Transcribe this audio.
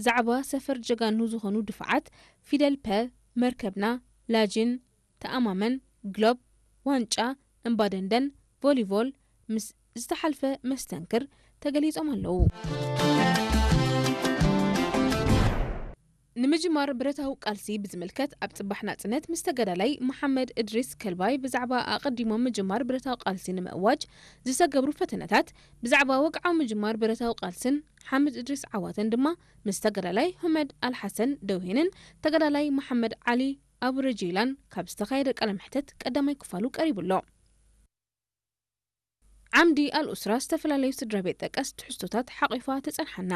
ዛዕባ ሰፈር ጀጋኑ ዝኾኑ ድፋዓት ፊደል ፐ፣ መርከብና፣ ላጅን፣ ተኣማመን፣ ግሎብ፣ ዋንጫ፣ እምባደንደን፣ ቮሊቮል ምስ ዝተሓልፈ መስተንክር ተገሊጾም ኣለዉ። ንምጅማር ብረታዊ ቃልሲ ብዝምልከት ኣብ ጽባሕ ናጽነት ምስ ተጋዳላይ መሓመድ እድሪስ ከልባይ ብዛዕባ ኣቐዲሞም ምጅማር ብረታዊ ቃልሲ ንምእዋጅ ዝተገብሩ ፈተነታት፣ ብዛዕባ ወግዓዊ ምጅማር ብረታዊ ቃልስን ሓምድ እድሪስ ዓዋተን ድማ ምስ ተጋዳላይ ሁመድ ኣልሓሰን ደውሄንን ተጋዳላይ መሓመድ ዓሊ ኣቡረጀይላን ካብ ዝተኻየደ ቃለ መሕተት ቀዳማይ ክፋሉ ቀሪቡ ኣሎ። ዓምዲ ኣልኡስራ ዝተፈላለዩ ስድራ ቤት ጠቀስ ትሕዝቶታት ሓቒፋ ትጸንሓና።